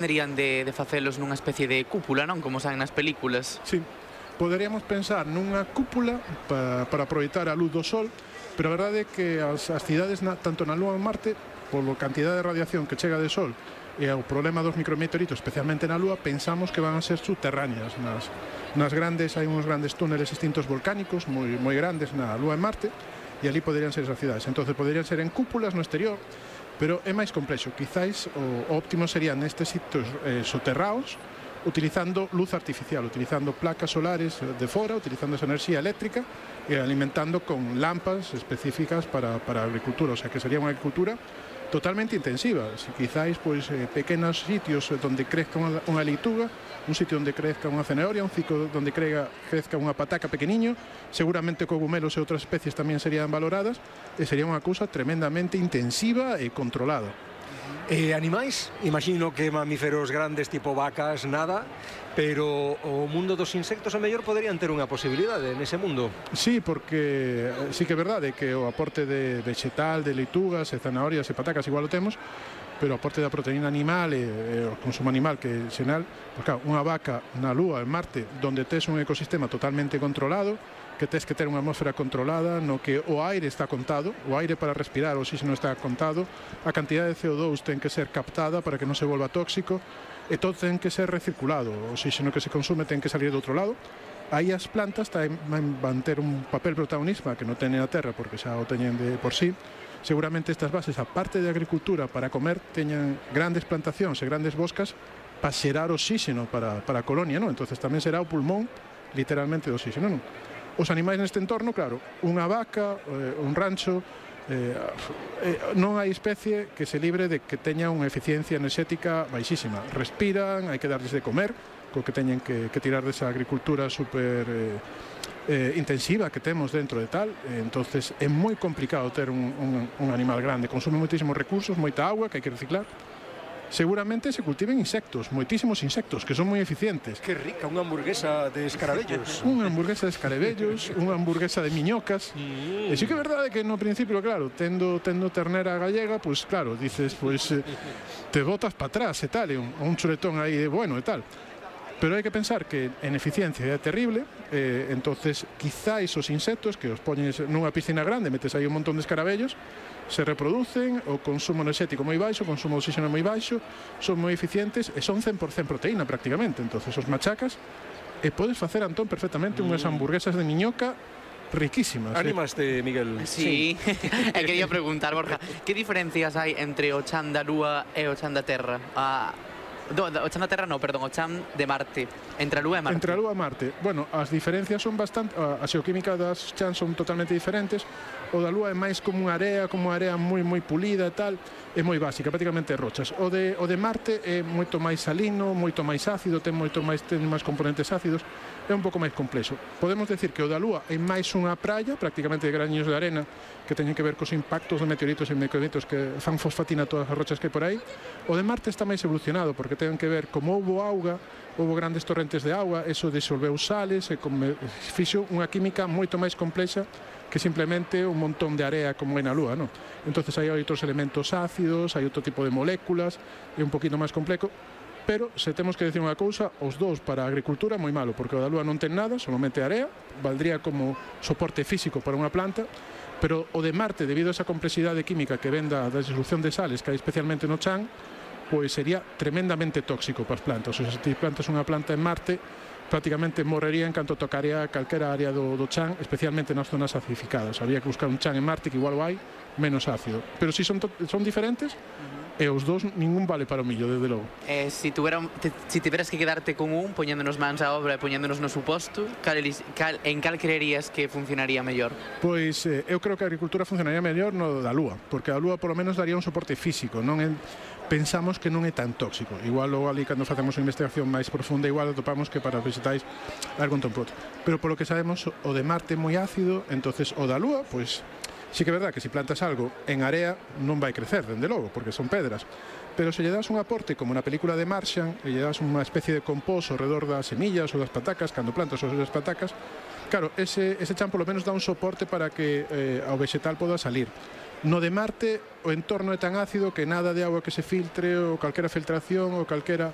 Deberían de facelos nunha especie de cúpula, non? Como saen nas películas. Sí, poderíamos pensar nunha cúpula para aproveitar a luz do sol, pero a verdade é que as cidades, tanto na Lúa como en Marte, polo cantidade de radiación que chega de sol e o problema dos micrometeoritos, especialmente na Lúa, pensamos que van a ser subterráneas. Nas grandes, hai uns grandes túneles extintos volcánicos moi grandes na Lúa e Marte, e ali poderían ser esas cidades. Entonces poderían ser en cúpulas no exterior, pero é máis complexo. Quizáis o óptimo sería nestes sitios soterrados, utilizando luz artificial, utilizando placas solares de fora, utilizando esa enerxía eléctrica e alimentando con lámparas específicas para a agricultura. O sea, que sería unha agricultura totalmente intensiva. Si quizáis pequenos sitios onde crezca unha leituga, un sitio onde crezca unha zanahoria, un sitio onde crezca unha pataca pequeniño, seguramente cogumelos e outras especies tamén serían valoradas, e sería unha cousa tremendamente intensiva e controlada. Animais, imagino que mamíferos grandes tipo vacas, nada, pero o mundo dos insectos a mellor poderían ter unha posibilidade nese mundo. Sí, porque sí que é verdade que o aporte de vegetal, de leitugas e zanahorias e patacas igual o temos, pero o aporte da proteína animal e o consumo animal que é xenal, pues claro, unha vaca na Lúa, en Marte, onde tes un ecosistema totalmente controlado, que tes que ter unha atmósfera controlada, no que o aire está contado, o aire para respirar, o oxígeno está contado, a cantidade de CO2 ten que ser captada para que non se volva tóxico, e todo ten que ser recirculado, o oxígeno que se consume ten que salir do outro lado. Aí as plantas van ter un papel protagonista que non teñen a terra porque xa o teñen de por sí. Seguramente estas bases, aparte de agricultura para comer, teñan grandes plantacións e grandes boscas para xerar oxígeno para a colonia, non? Entonces tamén será o pulmón literalmente do oxígeno, non? Os animais neste entorno, claro, unha vaca, un rancho, non hai especie que se libre de que teña unha eficiencia enerxética baixísima. Respiran, hai que darles de comer, co que teñen que tirar desa agricultura super intensiva que temos dentro de tal. Entonces é moi complicado ter un animal grande, consume moitísimos recursos, moita agua que hai que reciclar. Seguramente se cultiven insectos, moitísimos insectos, que son moi eficientes. Que rica, unha hamburguesa de escarabellos. Unha hamburguesa de escarabellos, unha hamburguesa de miñocas. E sí que é verdade que no principio, claro, tendo ternera gallega, pois claro, dices, te botas para atrás e tal, e un chuletón aí bueno e tal. Pero hai que pensar que en eficiencia é terrible, entonces quizáis os insectos que os poñes nunha piscina grande, metes aí un montón de escarabellos, se reproducen, o consumo enerxético moi baixo, o consumo de oxígeno moi baixo, son moi eficientes e son 100% proteína prácticamente. Entonces os machacas e podes facer, Antón, perfectamente unhas hamburguesas de miñoca riquísimas. Animaste, Miguel? Sí. E quería preguntar, Borja, que diferencias hai entre o chan da Lúa e o chan da Terra? O chan da Terra non, perdón, o chan de Marte. Entre a Lúa e Marte. Entre a Lúa e Marte. Bueno, as diferencias son bastante... A xeoquímica das chans son totalmente diferentes. O da Lúa é máis como unha area moi pulida e tal, é moi básica, prácticamente rochas. O de Marte é moito máis salino, moito máis ácido, ten máis componentes ácidos, é un pouco máis complexo. Podemos decir que o da Lúa é máis unha praia, prácticamente de graniños de arena, que teñen que ver cos impactos de meteoritos e micrometeoritos que fan fosfatina todas as rochas que hai por aí. O de Marte está máis evolucionado, porque ten que ver como houbo auga, houbo grandes torrentes de auga, eso disolveu sales e fixo unha química moito máis complexa que simplemente un montón de area como é na Lúa, non? Entonces hai outros elementos ácidos, hai outro tipo de moléculas, é un poquito máis complejo, pero se temos que decir unha cousa, os dous para a agricultura moi malo, porque o da Lúa non ten nada, solamente area, valdría como soporte físico para unha planta, pero o de Marte, debido a esa complexidade química que ven da disolución de sales que hai especialmente no chan, pois sería tremendamente tóxico para as plantas. O sea, se ti plantas unha planta en Marte, prácticamente morrería en canto tocaría calquera área do chan, especialmente nas zonas acidificadas. Habría que buscar un chan en Marte que igual o hai, menos ácido. Pero si son diferentes, e os dous ningún vale para o millo, desde logo. Si tiveras que quedarte con un, poñéndonos mans á obra e poñéndonos no suposto, en cal creerías que funcionaría mellor? Pois eu creo que a agricultura funcionaría mellor no da Lúa, porque a Lúa polo menos daría un soporte físico, non pensamos que non é tan tóxico. Igual logo ali cando facemos unha investigación máis profunda, igual atopamos que para os vegetais algo un tonto. Pero polo que sabemos, o de Marte é moi ácido, entonces o da Lúa, pois sí que é verdad que se plantas algo en area non vai crecer, dende logo, porque son pedras. Pero se lle das un aporte, como na película de Martian, e lle das unha especie de compost ao redor das semillas ou das patacas, cando plantas as patacas, claro, ese chan polo menos dá un soporte para que ao vegetal poda salir. No de Marte o entorno é tan ácido que nada de agua que se filtre ou calquera filtración ou calquera